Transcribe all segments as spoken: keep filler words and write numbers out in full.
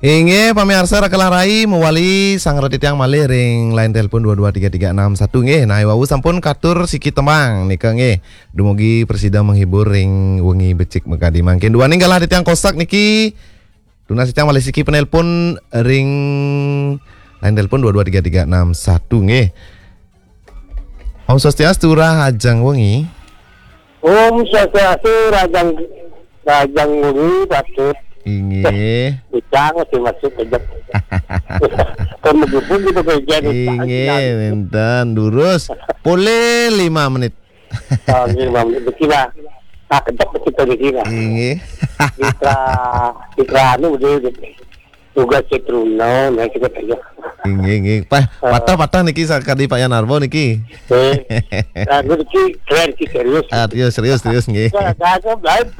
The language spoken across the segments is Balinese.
Inggih, pamiarsa Raka Larai mawali sanggra titiang malih ring line telepon dua dua tiga tiga enam satu nggih. Nah, wau sampun katur siki tembang nika nggih. Dumugi prasida menghibur ring wengi becik makadi mangkin. Duaning galah titiang kosak niki. Tunas titiang malih siki penelpon ring line telepon dua dua tiga tiga enam satu nggih. Om Swastiastu, Rahajeng Wengi. Om Swastiastu, Rahajeng, Rahajeng Wengi, Patut. Inggih. Bujang masih masuk aja. Kan menggebu gitu kerja nih. Inggih, wénten durus. Polih lima menit. Oh, nggih, Bang, niki lah. Ah, kedap kita niki lah. Inggih. Mitra, mitra anu dia, dia. Tugas Cetruno, nah, kita tanya. Inggih, inggih. Pah, Eh. patah-patah niki sakadi Pak Yan Arbo niki. Eh. Nah, niki keren sih, serius. Ah, serius, serius, serius nggih. Saya kagak, Bang.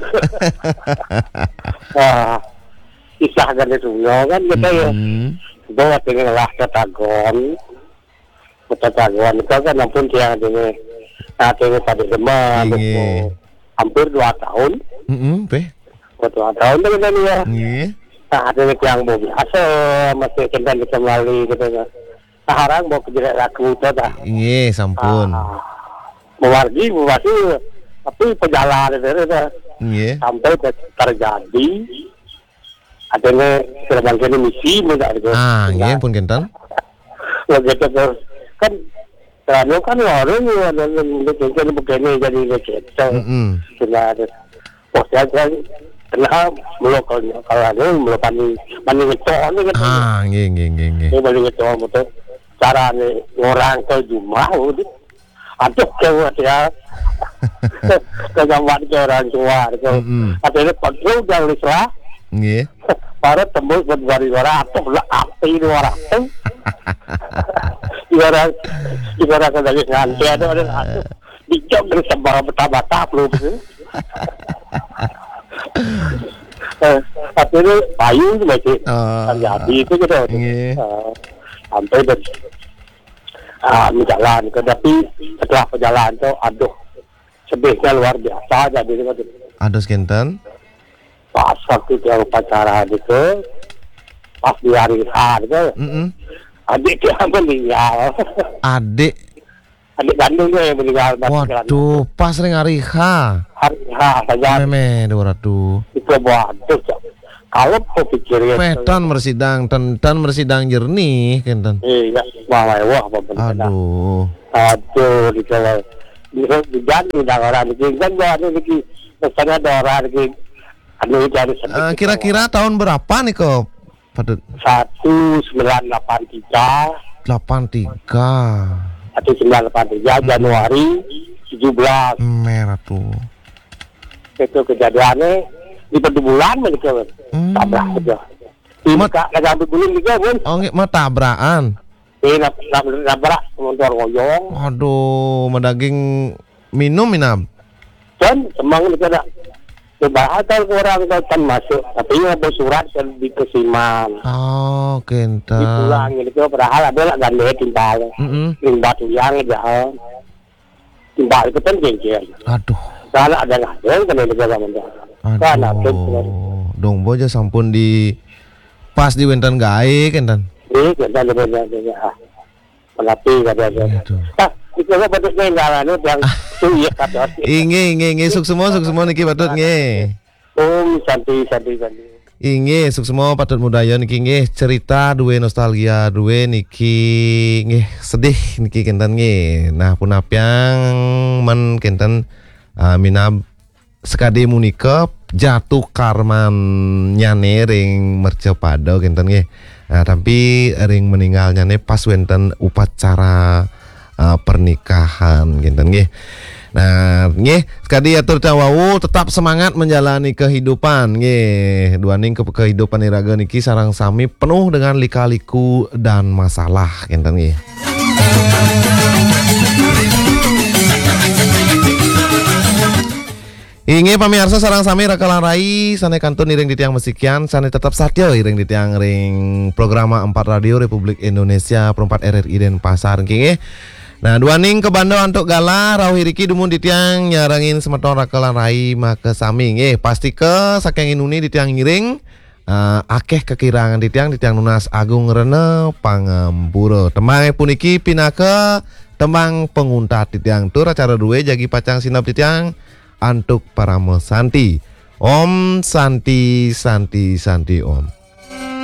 Ah, kisah dari Cetruno kan kita ya. Hmm. Bawa dengan lah ketagon. Kota Taguan itu kan ampun tiang dene. Nah, dene pada demen. Inggih. Hampir dua tahun. Heeh, teh. Dua tahun tu kan ya. Nggih. Nah, dene tiang mau biasa, masih kendan kita melalui gitu kan. Nah, orang mau kejerat lagu tu dah. Inggih, sampun. Ah, mewargi, mewargi, tapi perjalanan itu dah. Nggih. Sampai ter-, terjadi, artinya, sudah bangkit misi, mudah gitu. Ah, nggih, pun kenten. Begitu terus. Kan, anu kan orang, anu, anu, anu, anu, begini jadi begitu. Mm-mm. Sudah ada. Oh, saya kan, kenal, belum kalau, kalau anu, belum pani, pani ngecor ni kan. Ah, nggih, nggih, nggih, nggih. Ini pani ngecor betul. Cara ni, orang ke rumah, udah. Aduh, gawat ya. Kenyamanan ke orang tua, gitu. Mm-mm. Artinya, kontrol jangan salah. Nggih. Para tembus berdua orang, atuh lah, api dua orang. Dua orang, dua orang lagi nganti, ada, ada, atuh. Dijok dari sebar bata-bata, belum. Eh, artinya, payung tu masih. Ah. Terjadi itu gitu. Nggih. Eh, sampai dan, ah, menjalan. Tapi setelah perjalanan tu, aduh, sedihnya luar biasa jadi gitu. Aduh, kinten. Pas waktu dia upacara gitu, pas di hari H gitu, Mm-mm. adik dia meninggal. Adik? Adik kandung dia yang meninggal, pas jalan. Waduh, pas ring hari H. Hari H saja. Mémé, dua ratus. Itu waduh, Cak. Kalau kau pikir ya, Pétan mresidang, ten, ten mresidang jernih, kinten. Iya, wah, wah, wah, apa bener. Aduh. Aduh, di kalau, di, di, di, di orang di kan, ada lagi, pesannya ada orang lagi, anu, cari sedikit. Eh, kira-kira tahun berapa nih, Ko, Patut? Satu sembilan lapan tiga. Delapan tiga. Satu sembilan lapan tiga, Hmm. Januari tujuh belas. Merah tuh. Itu kejadiannya di Pedubulan, begitu. Hmm. Tabrak aja. Ini Mat- Kak, lagi ambil guling juga, Bun. Oh, nggih, mah tabrakan. Eh, nab-, nab-, nabrak motor ngoyong. Aduh, madaging minum, Minab. Dan emang ini kena. Padahal kan orang kan masuk, tapi yang ada surat kan di Kesiman. Oh, kinten. Dipulang gitu, padahal ada lah gandeng timpal. Mm-mm. Limbah tuyang aja. Timbal itu kan jengkel. Aduh. Kalau ada ngadeng, kena negara mendarat. Aduh. Kan, aduh, kan. Dong bojo sampun di pas di wénten gaé, kinten. Iya, kinten, kinten, kinten, ah. Menapi, kada ada. Iya, tuh. Ah, itu apa tuh, nggak, anu, yang Ah. Tuh, iya, kata. Inggih, inggih, inggih. Suksma, suksma niki Patut, nggih. Om Santi, Santi, Santi. Inggih, suksma Patut Mudaya niki nggih, cerita dué nostalgia dué niki nggih, sedih niki kinten nggih. Nah, punapiang men kinten, ah, minab sekadi munika jatuh karmannyané ring mercapada kinten nggih. Nah, tapi ring meninggalnyané pas wénten upacara uh, pernikahan kinten nggih. Nah, nggih, sekadi atur tawau tetap semangat menjalani kehidupan nggih. Duaning ke kehidupan iraga niki sareng sami penuh dengan lika-liku dan masalah kinten nggih. Inggih pamiarsa sareng sami raka lan rai sané kantun iring titiang masikian sané tetep satia iring titiang ring programa empat Radio Republik Indonesia perempat R R I Denpasar nggih. Nah, duaning kabanda antuk galah rauh iriki dumun titiang nyarengin semeton raka lan rai makasami nggih. Pastika saking inuni titiang ngiring eh, akéh kakirangan titiang, titiang nunas agung rena pangampura. Tembangé puniki pinaka tembang panguntat titiang. Tur acara drué jagi pacang sineb titiang antuk parama santi. Om Santi, Santi, Santi Om.